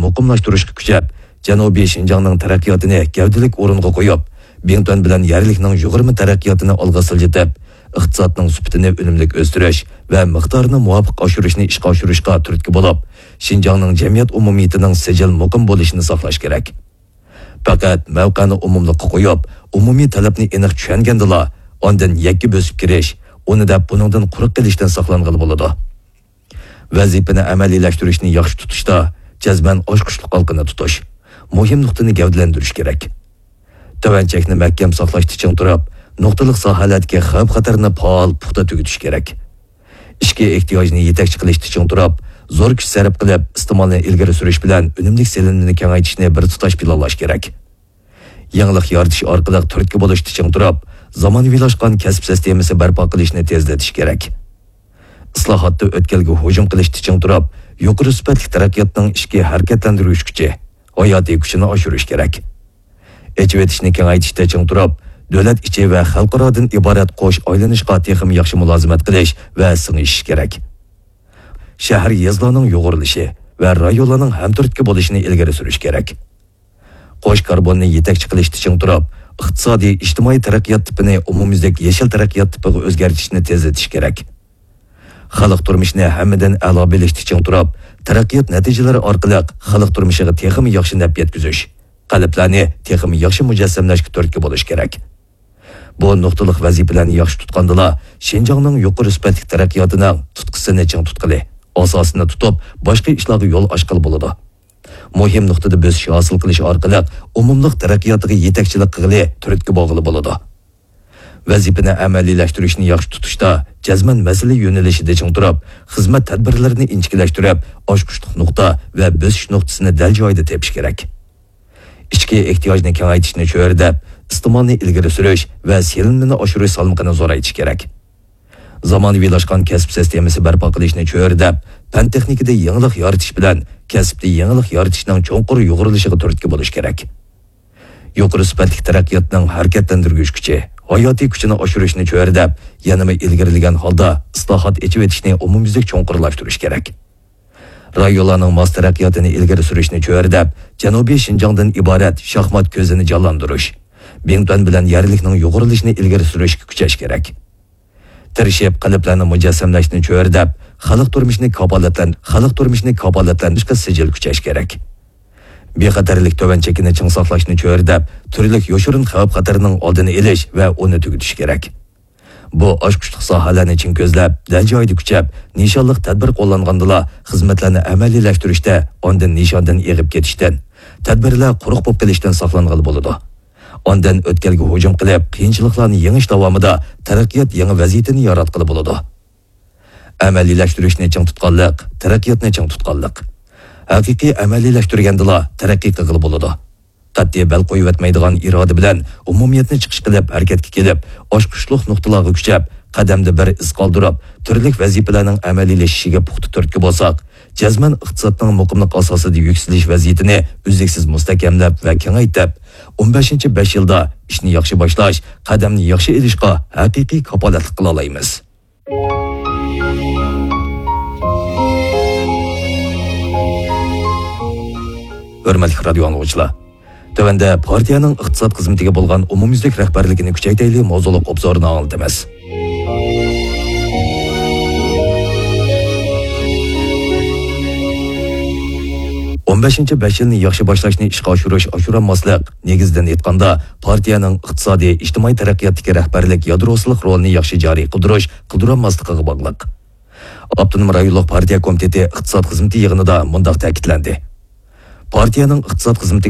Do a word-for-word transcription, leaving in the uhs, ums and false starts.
مۇقىملاشتۇرۇشقا كۈچەپ، جەنۇبىي شىنجاڭنىڭ تەرەققىياتىنى گەۋدىلىك ئورۇنغا قويۇپ، بىڭتۈەن بىلەن يەرلىكنىڭ يۇغۇرما تەرەققىياتىنى ئالغا سىلجىتىپ، ئىقتىسادنىڭ سۈپىتىنى ئۈنۈملۈك ئۆستۈرۈش ۋە مىقدارىنى مۇۋاپىق ئاشۇرۇشنى ئىشقا ئاشۇرۇشقا تۈرتكە بولۇپ، شىنجاڭنىڭ جەمئىيەت ئومۇمىيىتىنىڭ سىجىل مۇقىم بولۇشىنى ساقلاش كېرەك. پەقەت مەۋقەنى ئومۇملۇققا قويۇپ، ئومۇمىي تەلەپنى ئېنىق چۈشەنگەندىلا، ئاندىن يەككە بۆسۈپ كىرىش، ئۇنى دەپ بۇنىڭدىن قۇرۇق قېلىشتىن ساقلانغىلى بولىدۇ. ۋەزىپىنى ئەمەلىيلەشتۈرۈشنى ياخشى تۇتۇشتا جەزمەن ئاچقۇچلۇق ھالقىنى تۇتۇش، مۇھىم نۇقتىنى گەۋدىلەندۈرۈش كېرەك. تۆۋەن چەكنى مەھكەم ساقلاشتا چىڭ تۇرۇپ، نۇقتىلىق ساھەلەردىكى خەۋپ-خەتەرنى پائال، پۇختا تۈگىتىش كېرەك. ئىچكى ئېھتىياجنى يېتەكچى قىلىشتا چىڭ تۇرۇپ، زور كۈچ سەرپ قىلىپ، ئىستېمالنى ئىلگىرى سۈرۈش بىلەن ئۈنۈملۈك سېلىنمىنى كېڭەيتىشنى بىر تۇتاش پىلانلاش كېرەك. يېڭىلىق يارىتىش ئارقىلىق تۈرتكە بولۇشتا چىڭ تۇرۇپ، زامانىۋىلاشقان كەسىپ سىستېمىسى بەرپا قىلىشنى تېزلىتىش كېرەك. ئىسلاھاتتا ئۆتكەلگە ھۇجۇم قىلىشتا چىڭ تۇرۇپ، يۇقىرى سۈپەتلىك تەرەققىياتنىڭ ئىچكى ھەرىكەتلەندۈرگۈچ كۈچى، ھاياتىي كۈچىنى ئاشۇرۇش كېرەك. ئېچىۋېتىشنى كېڭەيتىشتە چىڭ تۇرۇپ، دۆلەت ئىچى ۋە خەلقئارادىن ئىبارەت قوش ئايلىنىشقا تېخىمۇ ياخشى مۇلازىمەت قىلىش ۋە سىڭىشىش كېرەك. شەھەر، يېزىلارنىڭ يۇغۇرۇلۇشى ۋە رايونلارنىڭ ھەمتۈرتكە بولۇشىنى ئىلگىرى سۈرۈش كېرەك. قوش كاربوننى يېتەكچى قىلىشتا چىڭ تۇرۇپ، ئىقتىسادىي، ئىجتىمائىي تەرەققىيات تىپىنى ئومۇميۈزلۈك يېشىل تەرەققىيات تىپىغا ئۆزگەرتىشنى تېزلىتىش كېرەك. خەلق تۇرمۇشىنى ھەممىدىن ئەلا بىلىشتا چىڭ تۇرۇپ، تەرەققىيات نەتىجىلىرى ئارقىلىق خەلق تۇرمۇشىغا تېخىمۇ ياخشى نەپ يەتكۈزۈش، قەلبلەرنى تېخىمۇ ياخشى مۇجەسسەملەشكە تۈرتكە بولۇش كېرەك. بۇ نۇقتىلىق ۋەزىپىلەرنى ياخشى تۇتقاندىلا، شىنجاڭنىڭ يۇقىرى سۈپەتلىك تەرەققىياتىنىڭ تۇتقىسىنى چىڭ تۇتقىلى، ئاساسىنى تۇتۇپ، باشقا ئىشلارغا يول ئاچقىلى بولىدۇ. مۇھىم نۇقتىدا بۆسۈش ھاسىل قىلىش ئارقىلىق ئومۇملۇق تەرەققىياتىغا يېتەكچىلىك قىلغىلى، تۈرتكە بولغىلى بولىدۇ. ۋەزىپىنى ئەمەلىيلەشتۈرۈشنى ياخشى تۇتۇشتا جەزمەن مەسىلە يۆنىلىشىدە چىڭ تۇرۇپ، خىزمەت تەدبىرلىرىنى ئىنچىكىلەشتۈرۈپ، ئاچقۇچلۇق نۇقتا ۋە بۆسۈش نۇقتىسىنى دەل جايىدا تېپىش كېرەك. ئىچكى ئېھتىياجنى كېڭەيتىشنى چۆرىدەپ، ئىستېمالنى ئىلگىرى سۈرۈش ۋە سېلىنمىنى ئاشۇرۇش سالمىقىنى زورايتىش كېرەك. زامانىۋىلاشقان كەسىپ سىستېمىسى بەرپا قىلىشنى چۆرىدەپ، پەن-تېخنىكىدا يېڭىلىق يارىتىش بىلەن كەسىپتە يېڭىلىق يارىتىشنىڭ چوڭقۇر يۇغۇرۇلۇشىغا تۈرتكە بولۇش كېرەك. يۇقىرى سۈپەتلىك تەرەققىياتنىڭ ھەرىكەتلەندۈرگۈچ كۈچى، ھاياتىي كۈچىنى ئاشۇرۇشنى چۆرىدەپ، يەنىمۇ ئىلگىرىلىگەن ھالدا ئىسلاھات، ئېچىۋېتىشنى ئومۇميۈزلۈك چوڭقۇرلاشتۇرۇش كېرەك. رايونلارنىڭ ماس تەرەققىياتىنى ئىلگىرى سۈرۈشنى چۆرىدەپ، جەنۇبىي شىنجاڭدىن ئىبارەت شاھمات كۆزىنى جانلاندۇرۇش، بىڭتۈەن بىلەن يەرلىكنىڭ يۇغۇرۇلۇشىنى ئىلگىرى سۈرۈشكە كۈچەش كېرەك. تىرىشىپ، قەلبلەرنى مۇجەسسەملەشنى چۆرىدەپ، خەلق تۇرمۇشىنى كاپالەتلەن-، خەلق تۇرمۇشىنى كاپالەتلەندۈرۈشكە سىجىل كۈچەش كېرەك. بىخەتەرلىك تۆۋەن چېكىنى چىڭ ساقلاشنى چۆرىدەپ، تۈرلۈك يوشۇرۇن خەۋپ-خەتەرنىڭ ئالدىنى ئېلىش ۋە ئۇنى تۈگىتىش كېرەك. بۇ ئاچقۇچلۇق ساھەلەرنى چىڭ كۆزلەپ، دەل جايىدا كۈچەپ، نىشانلىق تەدبىر قوللانغاندىلا، خىزمەتلەرنى ئەمەلىيلەشتۈرۈشتە ئاندىن نىشاندىن ئېغىپ كېتىشتىن، تەدبىرلەر قۇرۇق بولۇپ قېلىشتىن ساقلانغىلى بولىدۇ. ئاندىن ئۆتكەلگە ھۇجۇم قىلىپ، قىيىنچىلىقلارنى يېڭىش داۋامىدا تەرەققىيات يېڭى ۋەزىيىتىنى ياراتقىلى بولىدۇ. ئەمەلىيلەشتۈرۈشنى چىڭ تۇتقانلىق، تەرەققىياتنى چىڭ تۇتقانلىق. ھەقىقىي ئەمەلىيلەشتۈرگەندىلا تەرەققىي قىلغىلى بولىدۇ. قەتئىي بەل قويۇۋەتمەيدىغان ئىرادە بىلەن ئومۇمىيەتنى چىقىش قىلىپ ھەرىكەتكە كېلىپ، ئاچقۇچلۇق نۇقتىلارغا كۈچەپ، قەدەمدە بىر ئىز قالدۇرۇپ، تۈرلۈك ۋەزىپىلەرنىڭ ئەمەلىيلىشىشىگە پۇختا تۈرتكە بولساق، جەزمەن ئىقتىسادنىڭ مۇقىملىق ئاساسىدا يۈكسىلىش ۋەزىيىتىنى ئۈزلۈكسىز مۇستەھكەملەپ ۋە كېڭەيتىپ، ئون بەشىنچى بەش يىلدا ئىشنى ياخشى باشلاش، قەدەمنى ياخشى ئېلىشقا ھەقىقىي كاپالەتلىك قىلالايمىز. ھۆرمەتلىك رادىيو ئاڭلىغۇچىلار! تۆۋەندە پارتىيەنىڭ ئىقتىساد خىزمىتىگە بولغان ئومۇميۈزلۈك رەھبەرلىكىنى كۈچەيتەيلى ماۋزۇلۇق ئوبزورىنى ئاڭلىتىمىز. ئون بەشىنچى بەش يىلنى ياخشى باشلاشنى ئىشقا ئاشۇرۇش، ئاشۇرالماسلىق، نېگىزىدىن ئېيتقاندا، پارتىيەنىڭ ئىقتىسادىي، ئىجتىمائىي تەرەققىياتتىكى رەھبەرلىك يادروسىلىق رولىنى ياخشى جارى قىلدۇرۇش، قىلدۇرالماسلىقىغا باغلىق. ئاپتونوم رايونلۇق پارتىيە كومىتېتى ئىقتىساد خىزمىتى يىغىنىدا مۇنداق تەكىتلەندى: پارتىيەنىڭ ئىقتىساد خىزمىتىگە